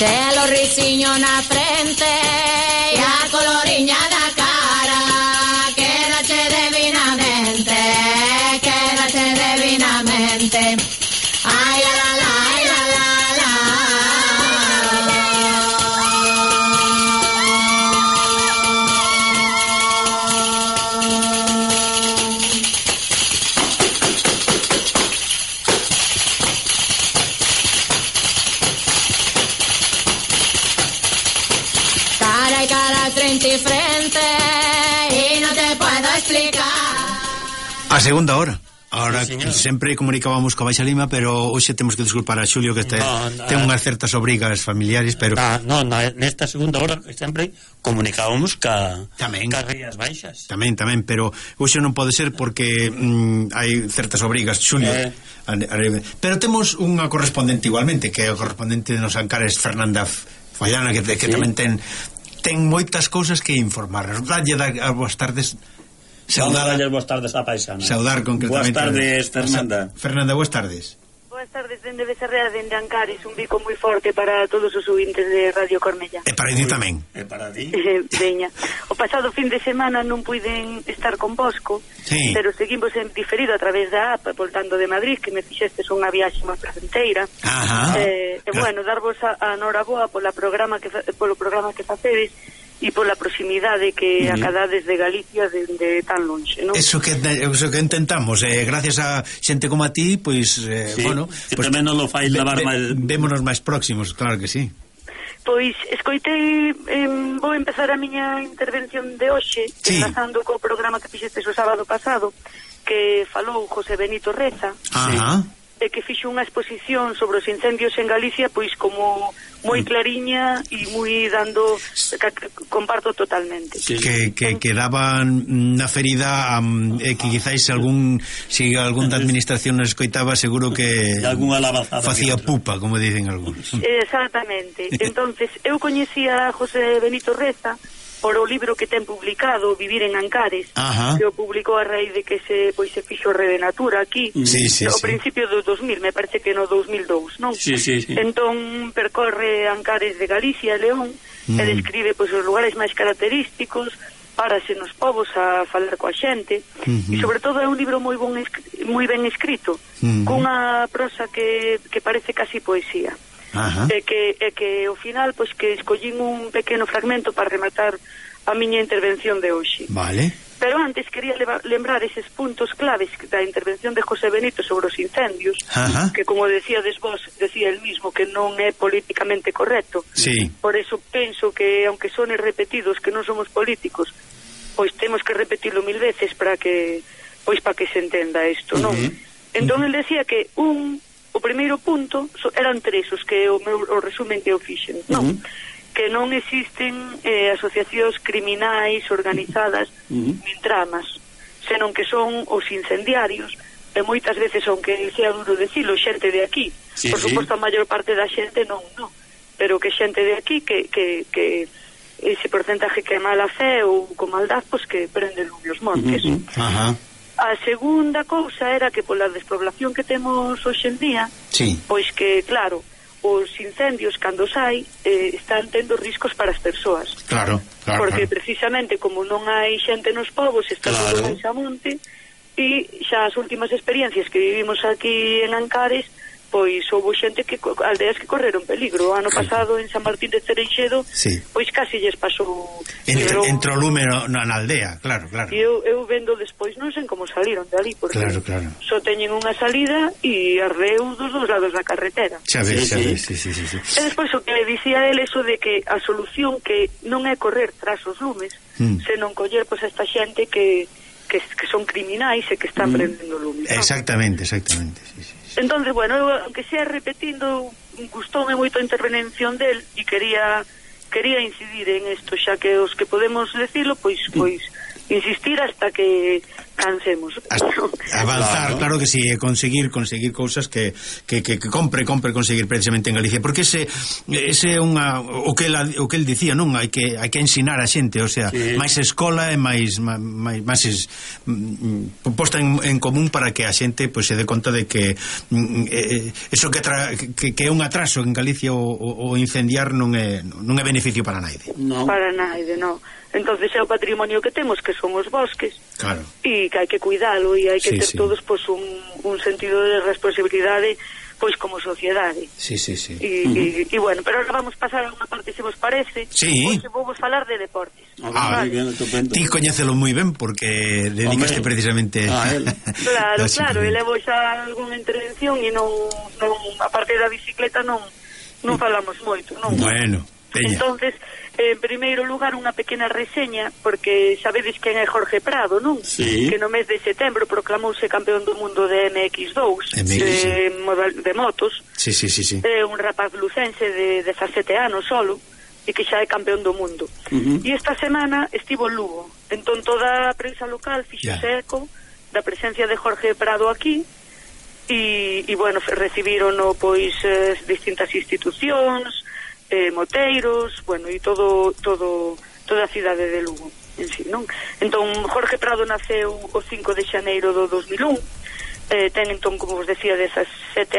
Telo risiño na frente e a coloriña da cara. Quédate divinamente, quédate divinamente. Ay, la la la, ay, la la la. Cara y cara, frente y frente, y no te puedo explicar. A segunda hora. Ahora Sí, sempre comunicábamos coa Baixa Lima, pero hoxe temos que disculpar a Xulio que ten unhas certas obrigas familiares, pero nesta segunda hora que sempre comunicábamos ca Rías Baixas. Tamén, pero hoxe non pode ser porque hai certas obrigas, Xulio. Pero temos unha correspondente igualmente, que é o correspondente de nos Ancares, Fernanda Fallana, que tamén ten moitas cousas que informar. Dalle as boas tardes. Boas tardes a paisana. Saudar concretamente. Boas tardes, Fernanda. Fernanda, boas tardes. Boas tardes, dende Becerrea, dende Ancares. Un bico moi forte para todos os ouvintes de Radio Cornellá. E para ti tamén. E para ti. Veña. O pasado fin de semana non puiden estar con Bosco, sí, pero seguimos en diferido a través da app, voltando de Madrid, que me fixestes unha viaxe moi placenteira. Bueno, darvos a noraboa polo programa que facedes e pola proximidade que acadades de Galicia dende tan lonxe, non? Eso que intentamos, gracias a xente como a ti, pois, bueno, que tamén non lo fai lavar mal. Vémonos máis próximos, claro que sí. Pois escoitei, vou empezar a miña intervención de hoxe, enlazando co programa que fixestes o sábado pasado, que falou José Benito Reza, e que fixo unha exposición sobre os incendios en Galicia, pois como moi clariña e moi dando, comparto totalmente. Que daban na ferida, que quizáis se algún da administración nos escoitaba, seguro que facía pupa, como dicen algúns. Exactamente. Entonces, eu coñecía a José Benito Reza por o libro que ten publicado, Vivir en Ancares, que o publicou a raíz de que se fixo Rede Natura aquí, ao principio do 2000, me parece que no 2002, non? Sí. Entón percorre Ancares de Galicia e León, e describe os lugares máis característicos, párase nos povos a falar coa xente, e sobre todo é un libro moi ben escrito, cunha prosa que parece casi poesía. E que ao final pois que escollín un pequeno fragmento para rematar a miña intervención de hoxe. Vale. Pero antes quería lembrar eses puntos claves da intervención de José Benito sobre os incendios, que como decíades vos, decía el mismo que non é políticamente correcto. Sí. Por eso penso que aunque sones repetidos que non somos políticos, pois temos que repetilo 1000 veces para que se entenda isto, non? Entón el decía que o primeiro punto eran tres os que o resumen que eu fixen, non? Que non existen asociacións criminais organizadas nin tramas, senón que son os incendiarios, e moitas veces, aunque sea duro decilo, xente de aquí. Por suposto, a maior parte da xente non, pero que xente de aquí que ese porcentaje que é mala fe ou con maldad, pois que prende lume os montes. A segunda cousa era que pola despoblación que temos hoxe en día, pois que, claro, os incendios cando sai están tendo riscos para as persoas. Claro. Porque precisamente como non hai xente nos povos, está todo máis a monte, e xa as últimas experiencias que vivimos aquí en Ancares, pois houve xente que aldeas que correron peligro. O ano pasado en San Martín de Cereixedo, pois casi lles pasou entrou lume na aldea, claro. E eu vendo despois, non sei como saliron de ali, porque só teñen unha salida e arreu dos dous lados da carretera. Xa ves. E despois o que le dicía el, eso de que a solución que non é correr tras os lumes, senón coller pois a esta xente que son criminais e que están prendendo lume. Exactamente. Entonces, bueno, eu, aunque sea repetindo, gustoume moito a intervención del e quería incidir en isto, xa que os que podemos decilo, pois insistir hasta que cansemos. Avanzar, claro que sí, conseguir cousas que compre conseguir precisamente en Galicia, porque ese é o que el dicía, non? Hai que ensinar a xente, o sea, máis escola e máis posta en común para que a xente pois se dé conta de que eso que é un atraso en Galicia o incendiar non é beneficio para naide. Para naide, non. Entonces é o patrimonio que temos, que son os bosques, claro, e que hai que cuidalo, e hai que ter todos pois un sentido de responsabilidade pois como sociedade. Sí. E bueno, pero ahora vamos pasar a unha parte, se vos parece. Pois vou vos falar de deportes. Moi ben, estupendo. Ti coñécelo moi ben porque dedicaste precisamente a él. Claro, e levo xa algunha intervención e non a parte da bicicleta non falamos moito, non? Bueno, peña. Entonces, en primeiro lugar, unha pequena reseña, porque sabedes quen é Jorge Prado, non? Sí. Que no mes de setembro proclamouse campeón do mundo de MX2, de motos. Sí. É un rapaz lucense de 17 anos solo, e que xa é campeón do mundo. E esta semana estivo en Lugo. Entón toda a prensa local fixose eco da presencia de Jorge Prado aquí, e bueno, recibirono pois distintas institucións, moteiros, bueno, e toda a cidade de Lugo en sí, non? Entón, Jorge Prado naceu o 5 de xaneiro do 2001, ten entón, como vos decía, 17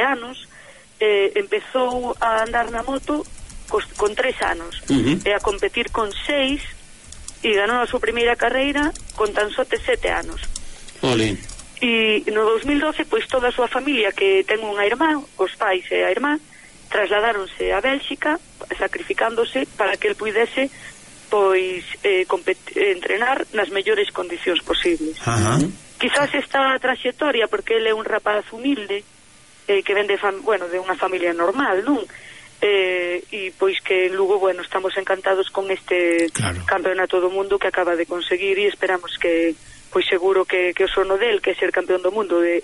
anos, empezou a andar na moto con 3 anos, e a competir con 6, e ganou a súa primeira carreira con tan só 7 anos. Olín. E no 2012, pois toda a súa familia, que ten unha irmá, os pais e a irmá, trasladáronse a Bélxica, sacrificándose para que el puidese pois entrenar nas mellores condicións posibles. Quizás esta traxectoria, porque ele é un rapaz humilde, que ven de unha familia normal, non? E pois que en Lugo, bueno, estamos encantados con este campeonato do mundo que acaba de conseguir, e esperamos que, pois seguro que o sono del, que é ser campeón do mundo de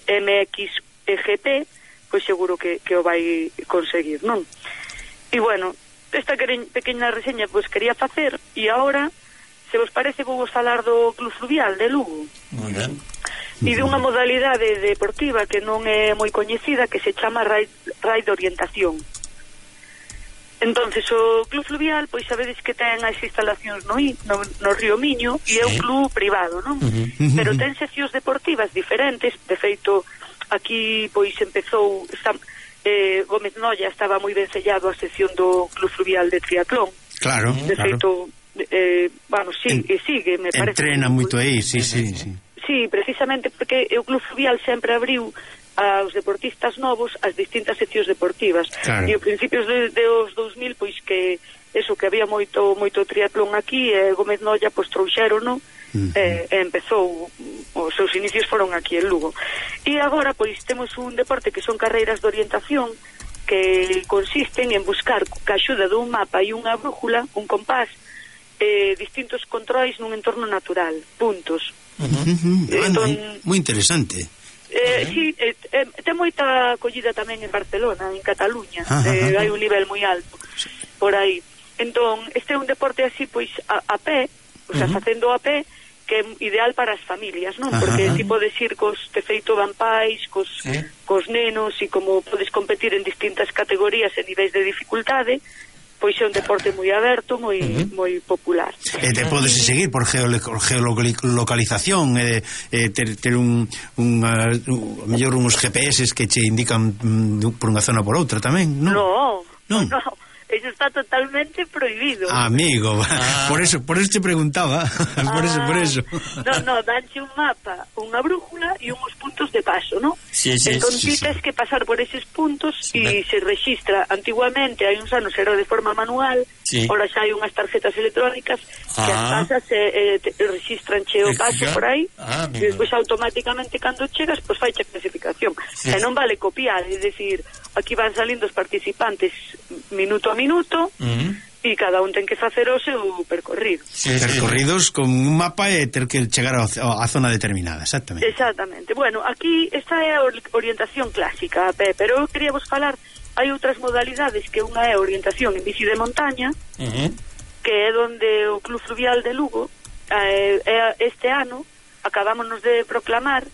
MXGP, pois seguro que o vai conseguir, non? E bueno, esta pequena reseña pois quería facer, e agora, se vos parece, vou vos falar do Club Fluvial de Lugo. Moi ben. E de unha modalidade deportiva que non é moi coñecida, que se chama Raid de Orientación. Entonces o Club Fluvial, pois sabedes que ten as instalacións no Río Miño, e é un club privado, non? Pero ten seccións deportivas diferentes. De feito, aquí pois empezou Gómez Noya, estaba moi ben sellado a sección do Club Fluvial de triatlón. Claro. De feito, sigue, me parece. Entrena moito aí, sí. Sí, precisamente porque o Club Fluvial sempre abriu aos deportistas novos as distintas seccións deportivas. Claro. E ao principios dos 2000, pois que eso, que había moito triatlón aquí, e Gómez Noya pois trouxérono, e empezou, os seus inicios foron aquí en Lugo. E agora pois temos un deporte que son carreiras de orientación, que consisten en buscar ca axuda dun mapa e unha brújula, un compás, distintos controis nun entorno natural, puntos. Entón, moi interesante. Sí, ten moita acollida tamén en Barcelona, en Cataluña. Hai un nivel moi alto por aí. Entón, este é un deporte así, pois, a pé, o sea, facendo a pé, que é ideal para as familias, non? Porque tipo de circos, de feito, van pais, cos nenos, e como podes competir en distintas categorías e niveis de dificultade, pois é un deporte moi aberto, moi popular. E te podes seguir por geolocalización, ter mellor uns GPS que che indican por unha zona por outra tamén, non? Non. Eso está totalmente prohibido. Amigo, por eso te preguntaba. Por eso. No, danche un mapa, unha brújula e uns puntos de paso, ¿no? Sí. Entón tens que pasar por eses puntos e se registra. Antiguamente, hai uns anos era de forma manual, ahora xa hai unhas tarjetas electrónicas que as pasas registran che o paso por aí, e despois automáticamente cando chegas, pois fai a clasificación. E non vale copiar, é dicir, aquí van salindo os participantes minuto a minuto, e cada un ten que facer o seu percorrido. Percorridos con un mapa e ter que chegar a zona determinada, exactamente. Bueno, aquí esta é a orientación clásica, pero eu quería vos falar, hai outras modalidades, que unha é a orientación en bici de montaña, que é donde o Club Fluvial de Lugo este ano acabámonos de proclamar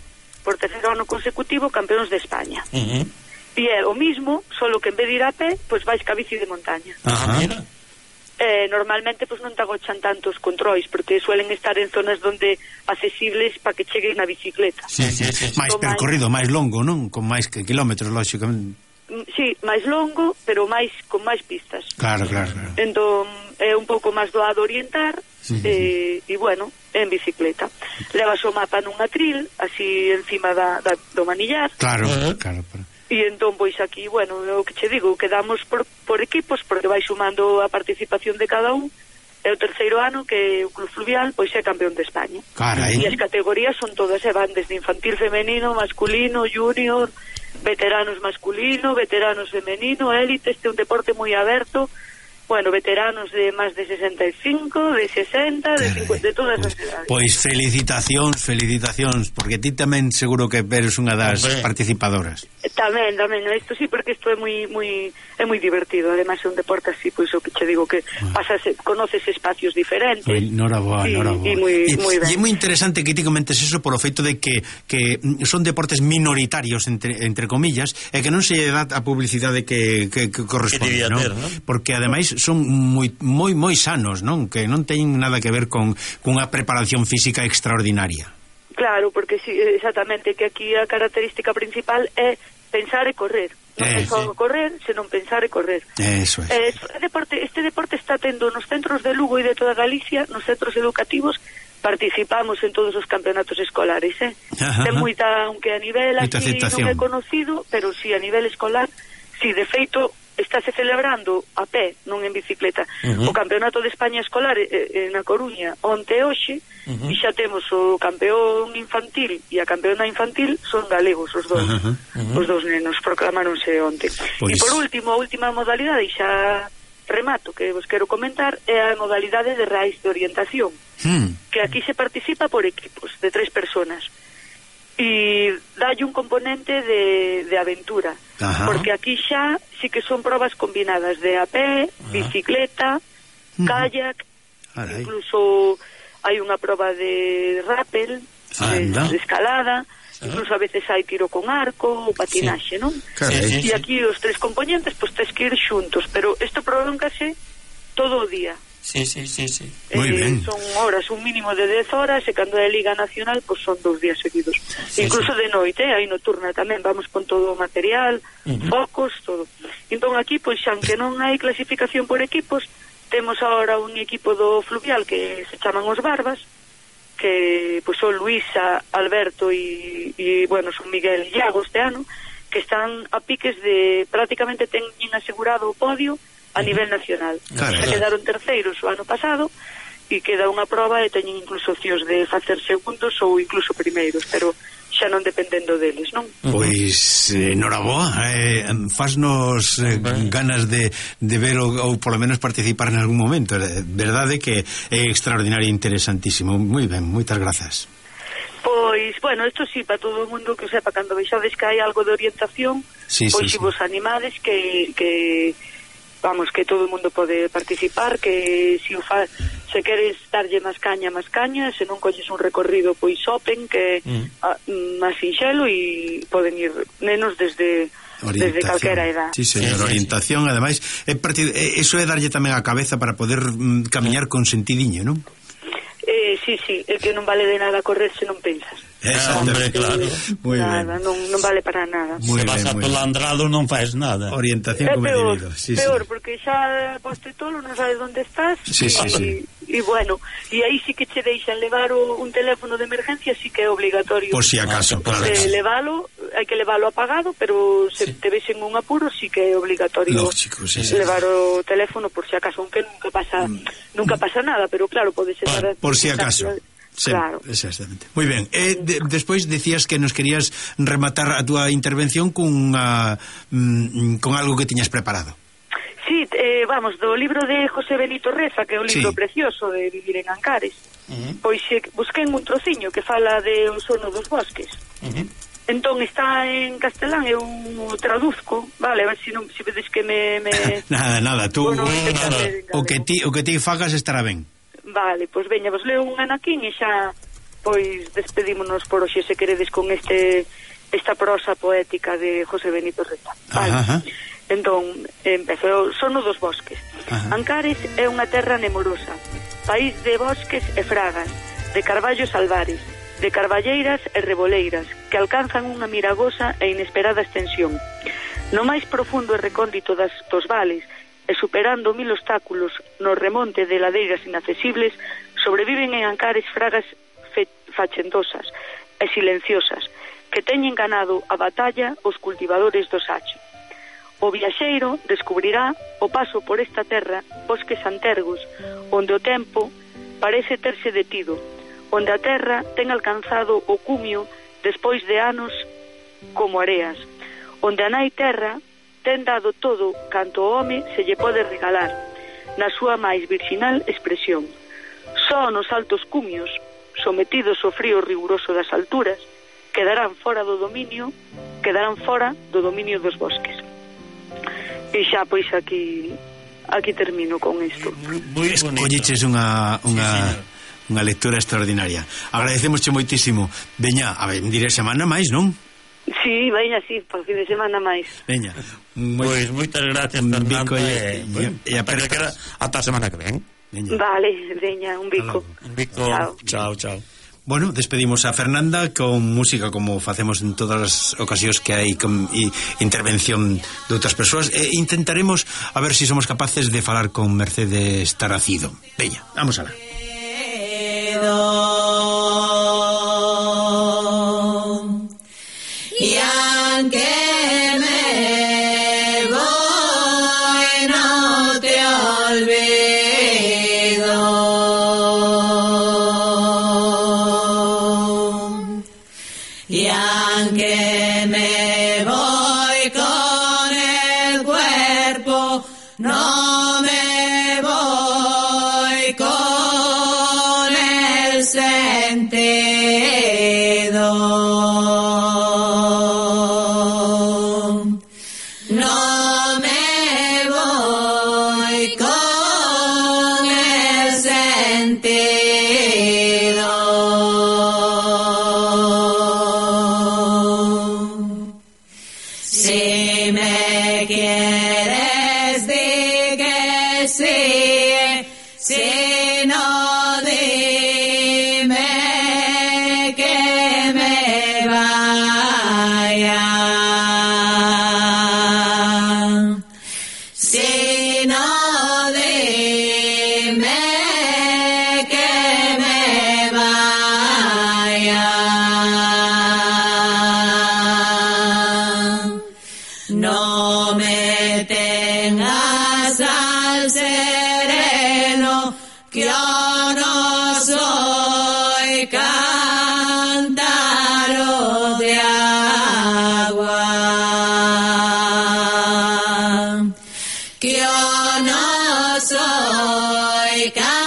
por terceiro ano consecutivo campeóns de España. E é o mismo, solo que en vez de ir a pé, pois vais ca bici de montaña. Normalmente pois non te agochan tantos controis, porque suelen estar en zonas donde accesibles para que cheguen na bicicleta. Máis percorrido, máis longo, non? Con máis kilómetros, lógicamente. Sí, máis longo, pero con máis pistas. Claro. Entón é un pouco máis doado orientar. E bueno, en bicicleta levas o mapa nun atril así encima do manillar, claro. E entón pois aquí, bueno, o que che digo, quedamos por equipos, porque vai sumando a participación de cada un. É o terceiro ano que o Club Fluvial pois é campeón de España. Carai. E as categorías son todas, van desde infantil, femenino, masculino, junior, veteranos masculino, veteranos femenino, élite. Este é un deporte moi aberto. Bueno, veteranos de máis de 65, de 60, de 50, de todas as edades. Pois felicitacións, porque ti tamén seguro que eres unha das participadoras. Tamén, isto sí, porque isto é moi divertido. Ademais é un deporte así, pois o que che digo, que conoces espacios diferentes. Noraboa. E moi ben. E é moi interesante que ti comentes eso polo feito de que son deportes minoritarios, entre comillas, e que non se dá a publicidade que corresponde, non? Porque ademais son moi sanos, non? Que non teñen nada que ver con unha preparación física extraordinaria. Claro, porque sí, exactamente, que aquí a característica principal é pensar e correr. Non é só correr, senón pensar e correr. Eso é. Este deporte está tendo nos centros de Lugo e de toda Galicia, nos centros educativos, participamos en todos os campeonatos escolares, Ten moita, aunque a nivel así non é conocido, pero si a nivel escolar, si de feito estáse celebrando a pé, non en bicicleta, o campeonato de España escolar na Coruña onte hoxe, e xa temos o campeón infantil e a campeona infantil son galegos os dous nenos, proclamáronse onte. E por último, a última modalidade, e xa remato, que vos quero comentar, é a modalidade de raíz de orientación, que aquí se participa por equipos de 3 personas. E dalle un componente de aventura, porque aquí xa sí que son probas combinadas de a pé, bicicleta, kayak, incluso hai unha proba de rappel, de escalada, incluso a veces hai tiro con arco ou patinaxe, non? E aquí os 3 componentes pois tes que ir xuntos, pero isto prolóngase todo o día. Sí. Moi ben. Son horas, un mínimo de 10 horas, e cando é Liga Nacional, pois son 2 días seguidos. Incluso de noite, hai nocturna tamén, vamos con todo o material, focos, todo. Entón aquí, pois, aunque non hai clasificación por equipos, temos agora un equipo do Fluvial que se chaman os Barbas, que pois son Luisa, Alberto e bueno, son Miguel e Iago este ano, que están a piques de prácticamente teñen asegurado o podio a nivel nacional. Se quedaron terceiros o ano pasado e queda unha proba e teñen incluso opcións de facer segundos ou incluso primeiros, pero xa non dependendo deles, non? Pois, noraboa, fasnos ganas de ver ou polo menos participar en algún momento. Verdade que é extraordinario e interesantísimo. Moi ben, moitas grazas. Pois, bueno, isto sí, para todo o mundo que sepa, cando vexades que hai algo de orientación, pois se vos animades que vamos, que todo o mundo pode participar, que se queres darlle máis caña, se non colles un recorrido pois open, que máis sinxelo, e poden ir nenos desde calquera edad. Sí, señor, orientación, ademais, eso é darlle tamén a cabeza para poder camiñar con sentidiño, non? Sí, é que non vale de nada correr se non pensas. Hombre, claro. Nada, non vale para nada. Se vas atolandrado non faz nada. Orientación como peor, porque xa poste tolo, non sabes onde estás. Sí. E bueno, e aí sí que che deixan levar un teléfono de emergencia, sí que é obligatorio. Por si acaso, claro. Hai que leválo apagado, pero se te ves en un apuro, sí que é obligatorio. Lógico, sí. Levar o teléfono por si acaso, aunque nunca pasa nada, pero claro, pode ser por si acaso. Sí, claro. Exactamente. Moi ben. Despois decías que nos querías rematar a túa intervención con algo que tiñas preparado. Sí, vamos, do libro de José Benito Reza, que é un libro precioso de Vivir en Ancares. Pois busquei un trociño que fala de O sono dos bosques. Entón está en castelán, eu traduzco, vale, a ver se vedes que me... Nada, tú... Bueno, o que ti fagas estará ben. Vale, pois veña, vos leo un anaquín e xa pois despedímonos por hoxe, se queredes, con esta prosa poética de José Benito Reta. Vale. Entón, empezo o sono dos bosques. Ancares é unha terra nemorosa, país de bosques e fragas, de carballos albares, de carballeiras e reboleiras, que alcanzan unha miragosa e inesperada extensión. No máis profundo e recóndito dos vales, e superando 1000 obstáculos no remonte de ladeiras inaccesibles, sobreviven en Ancares fragas fachendosas e silenciosas, que teñen ganado a batalla os cultivadores do sacho. O viaxeiro descubrirá o paso por esta terra bosques antergos, onde o tempo parece terse detido, onde a terra ten alcanzado o cumio despois de anos como areas, onde a nai terra ten dado todo canto o home se lle pode regalar, na súa máis virxinal expresión. Só nos altos cumios, sometidos ao frío riguroso das alturas, quedarán fora do dominio dos bosques. E xa, pois, aquí termino con isto. Escolliches unha lectura extraordinaria. Agradecemosche moitísimo. Veña, a ver, diré semana máis, non? Sí, veña, sí, para fin de semana máis. Veña. Pois moitas gracias, Fernando. E ata a semana que ven. Veña. Vale, veña, un bico. Un bico. Chao. Bueno, despedimos a Fernanda con música, como facemos en todas as ocasións que hai intervención de outras persoas, e intentaremos a ver se somos capaces de falar con Mercedes Taracido. Veña, vamos alá. Y aunque me voy, no te olvido. Y aunque me voy con el cuerpo, no me voy con el sentido. Si me quieres, di que sí, si no, dime que me vaya. Si no, dime que me vaya. No me tengas al sereno, que yo no soy cántaro de agua, que yo no soy cántaro